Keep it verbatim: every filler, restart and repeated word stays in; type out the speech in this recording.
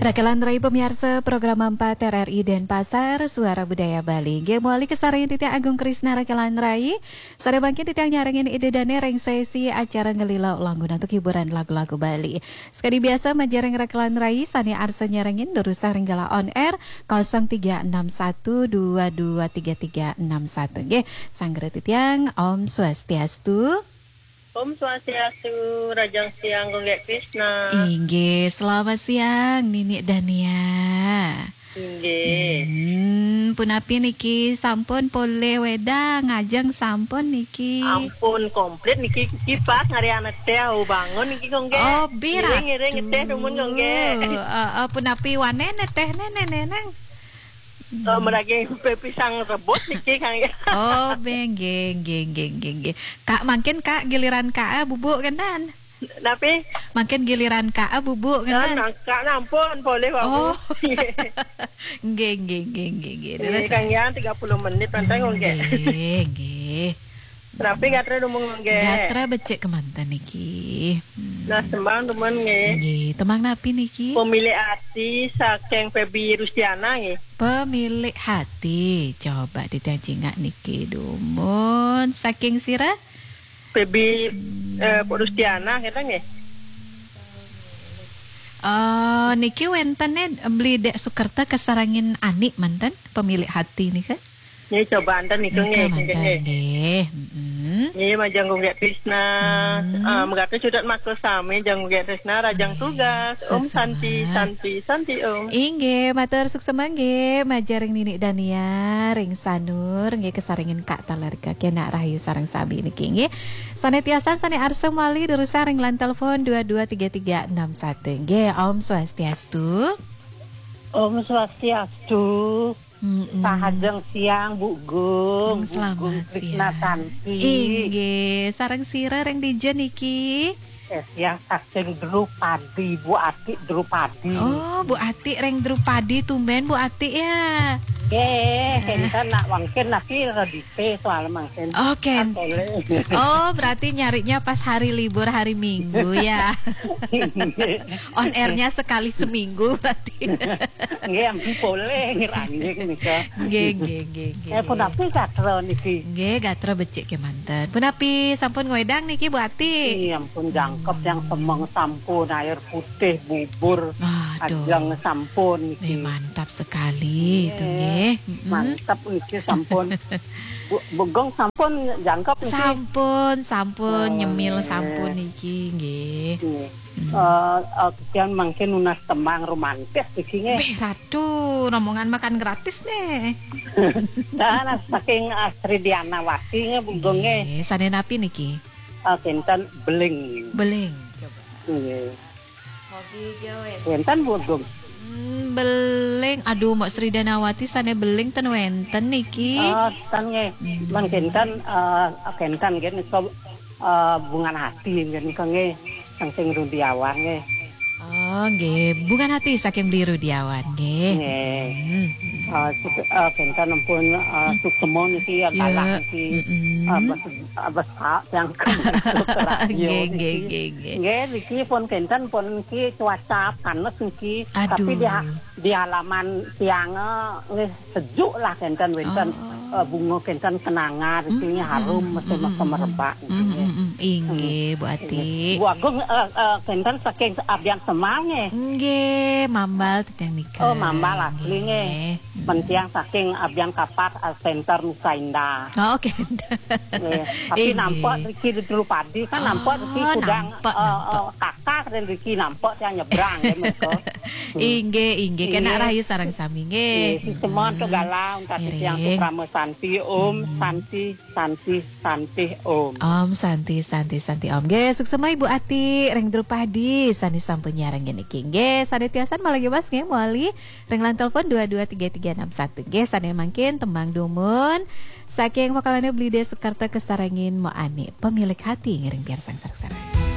Rakelan Rai pamiarsa program empat R R I Denpasar, Suara Budaya Bali. Nggih, mawali kasarengin titiang Agung Krisna Rakelan Rai. Sareng mangkin titiang nyarengin Ida Dane ring sesi acara ngelila langkung antuk hiburan lagu-lagu Bali. Sekadi biasa majeng ring Rakelan Rai sane arsa nyarengin durusang ring galah on air kosong tiga enam satu dua dua tiga tiga enam satu. Nggih, sanggra titiang, Om Swastiastu. Om Swastiastu, rahajeng siang, Gung Gek Krisna. Inggih, selamat siang, Nini Dania. Inggih. Hmm, punapi niki, sampun polih wedang, ngajeng sampun niki? Ampun, komplit niki, niki pas ngarih anak teh, au bangun niki, Gung Gek. Oh, bi ratu. Ngiring-ngiring ngeteh, dumun, Gung Gek. Eh, eh, punapi wane neteh, nene, neneng? Eh, meragi pepisang rebut niki, Kang, ya. Oh, be, nggih, nggih, nggih, nggih, nggih. Kak, mangkin, Kak, giliran Kak, eh, bubuk, kenten? Napi? Mangkin giliran Kak, eh, bubuk, kenten? Nah, Kak, nampun, polih, Bapak. Oh. Nggih, nggih, nggih, nggih, nggih. Nggih, terus, Kang, ya, tiga puluh menit, manten, Gung Gek. Nggih, nggih. Napi gatra dumun, Gung Gek? Gatra becik kemanten niki. Hmm. Nah, tembang dumun nggih. Nggih, tembang napi niki? Pemilik Hati saking Feby Rustiana nggih. Pemilik Hati. Coba titiang cingak niki dumun. Saking sira? Feby, eh, Rustiana kita nggih. Eh, niki wentene Beli Dek Sukerta kasarengin Ani manten, Pemilik Hati nika? Nggih, coba enten niku nggih, nika manten nggih. Nggih. Mm-mm. Nggih, majeng Gung Gek Krisna, mm, eh, megati cutet makul sami, jeng Gung Gek Krisna, rahajeng tugas. Om Santi, Santi, Santi Om. Inggih, matur suksema nggih, majeng ring Nini Dania, ring Sanur, nggih kasarengin Kak Talerka, kenak rahayu sareng sami niki nggih. Sane tiosan, sane arsa mawali durusang ring line telepon dua dua tiga tiga enam satu. Nggih, Om Swastiastu. Om Swastiastu. Mm-mm. Rahajeng siang, Bu Gung, mm, Bu Gung selamat Krisna siang. Santi. Inggih, sareng sira ring dija niki? Eh, siang saking Drupadi, Bu Ati Drupadi. Oh, Bu Ati ring Drupadi, tumben Bu Ati ya. Nggih, eh, kenten nak mangkin nasi redite soal mangkin. Oh, ken-, ah, boleh. Oh, berarti nyarinya pas hari libur, hari Minggu ya. Nggih. On airnya sekali seminggu berarti. Nggih, ampun polih ngeranjing nika. Nggih, nggih, nggih, nggih. Eh, punapi gatra niki? Nggih, gatra becik kemanten. Punapi sampun ngwedang niki, Bu Ati? Iya, ampun jangkep, hmm, yang semeng sampun, air putih, bubur, aduh, ajeng sampun niki. Eh, mantap sekali itu nggih. Nggih. Mm-mm. Mantap niki sampun. Bu, Bu Gung sampun jangkep niki? Sampun, sampun, oh, nyemil nggih, sampun niki nggih. Nggih. Hmm. Eh, eh, kian mangkin nunas tembang romantis iki nggih. Beh, ratu, rombongan makan gratis nih. Nah, nah, saking Astri Dianawati nggih, Bu Gung nggih. Nggih, sane napi niki? Eh, kinten beling. Beling, coba. Nggih. Hobi gawe. Kinten, Bu Gung. Hmm, beling. Aduh, Mbok Sri Danawati sane beling ten wenten niki. Oh, ten nggih. Hmm. Men kinten, eh, kinten nggih nika, eh, Bungan Hati nggih nika nggih. Saking Rudiawan nggih. Oh, nggih. Bungan Hati saking Beli Rudiawan nggih. Nggih. Hmm. Eh, suk-, eh, kinten ampun, eh, hmm, suksema niki ya, ya, galah niki. Mm-mm. Eh, bes-, eh, besak yang nggih, nggih, nggih, nggih. Nggih, niki pun kinten pun niki cuaca panas niki. Aduh. Tapi di ha-, di halaman tiang, eh, nggih sejuk lah kinten wenten, oh, eh, bunga kinten kenanga niki, mm-mm, harum, mm-mm, mesti, mm-mm, merebak niki. Mm-mm, mm-mm. Inggih, Bu Ati. Nggih. Bu Agung, eh, eh, kinten saking Abian Semal nggih. Nggih, Mambal titiang nika. Oh, Mambal asli nggih. Nggih. Mentiang saking Abian Kapas, eh, Center Nusa Indah. Oh, oke. Nggih. Tapi inggih, nampak riki di Drupadi kan, nampak riki, oh, kudang, nampak, eh, nampak, eh, kakak dan riki nampak yang nyebrang ya mereka. Inggih, inggih. Kena, inggih, rahayu sareng sami nggih. Nggih, si Semon, mm-mm, to galau, tadi siang ngiring. Sukrama Santi, Om, mm-mm, Santi, Santi, Santi, Om. Om Santi, Santi, Santi, Om. Nggih, suksema Ibu Ati ring Drupadi sane sampun nyarengin niki. Nggih, sane tiosan malih bebas nggih, mawali ring line telepon dua dua tiga tiga enam satu. Nggih, sane mangkin tembang dumun saking vokalane Beli Dek Sukerta kasarengin Mo Ani, Pemilik Hati, ngiring piarsang sareng-sareng.